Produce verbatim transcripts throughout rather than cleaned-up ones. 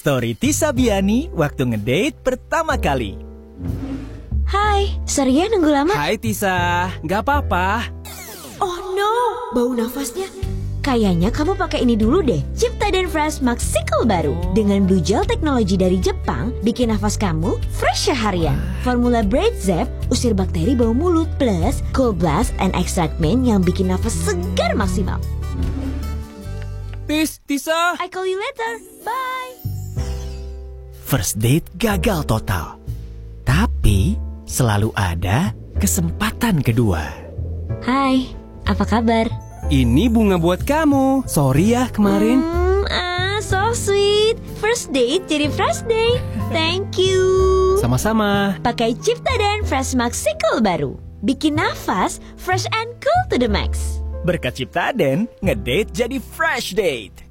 Story Tisa Biani waktu ngedate pertama kali. Hai, sorry ya nunggu lama. Hai Tisa, nggak apa-apa. Oh no, bau nafasnya. Kayaknya kamu pakai ini dulu deh, Ciptaden Fresh Maxicle baru. Dengan blue gel teknologi dari Jepang, bikin nafas kamu fresh seharian. Formula Braid Zep usir bakteri bau mulut, plus Cold Blast and Extract Mint yang bikin nafas segar maksimal. Tis, Tisa. I call you later. Bye. First date gagal total. Tapi selalu ada kesempatan kedua. Hai, apa kabar? Ini bunga buat kamu. Sorry ya kemarin. Hmm, ah, so sweet. First date jadi fresh day. Thank you. Sama-sama. Pakai Ciptaden Fresh Maxicle baru. Bikin nafas fresh and cool to the max. Berkat Ciptaden, ngedate jadi fresh date.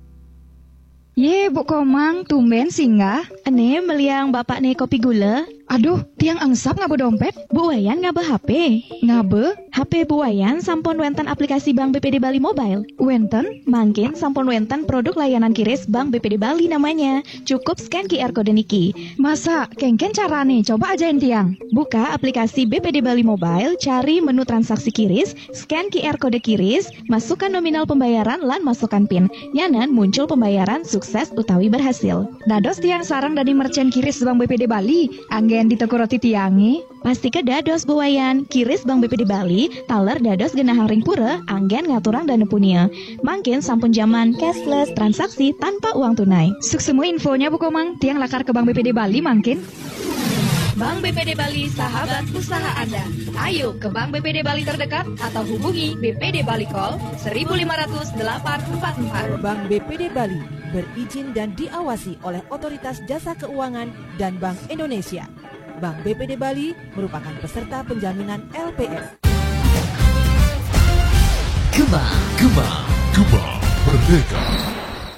Ye, Bu Komang, tumben singgah. Ene meliang bapak ne kopi gula. Aduh, tiang angsap ngaba dompet. Bu Wayan ngaba H P. Ngaba, H P Bu Wayan sampun wenten aplikasi Bank B P D Bali Mobile. Wenten, mangkin sampun wenten produk layanan kiris Bank B P D Bali namanya. Cukup scan Q R code niki. Masa, kengken carane, coba ajain tiang. Buka aplikasi B P D Bali Mobile, cari menu transaksi kiris, scan Q R code kiris, masukkan nominal pembayaran lan masukkan pin. Nyanan muncul pembayaran sukses utawi berhasil. Dados tiang sareng dadi merchant kiris Bank B P D Bali, anggen di toko roti tiange. Pasti ke dados Bu Wayan, kiris Bank B P D Bali, taler dados genahang ring pura, anggen ngaturang dana punia. Mangkin sampun zaman cashless, transaksi tanpa uang tunai. Suksma infonya Bu Komang, tiang lakar ke Bank B P D Bali mangkin. Bank B P D Bali, sahabat usaha Anda. Ayo ke Bank B P D Bali terdekat atau hubungi B P D Bali Call seribu lima ratus delapan empat empat. Bank B P D Bali berizin dan diawasi oleh Otoritas Jasa Keuangan dan Bank Indonesia. Bank B P D Bali merupakan peserta penjaminan L P S. Gema, Gema, Gema Merdeka.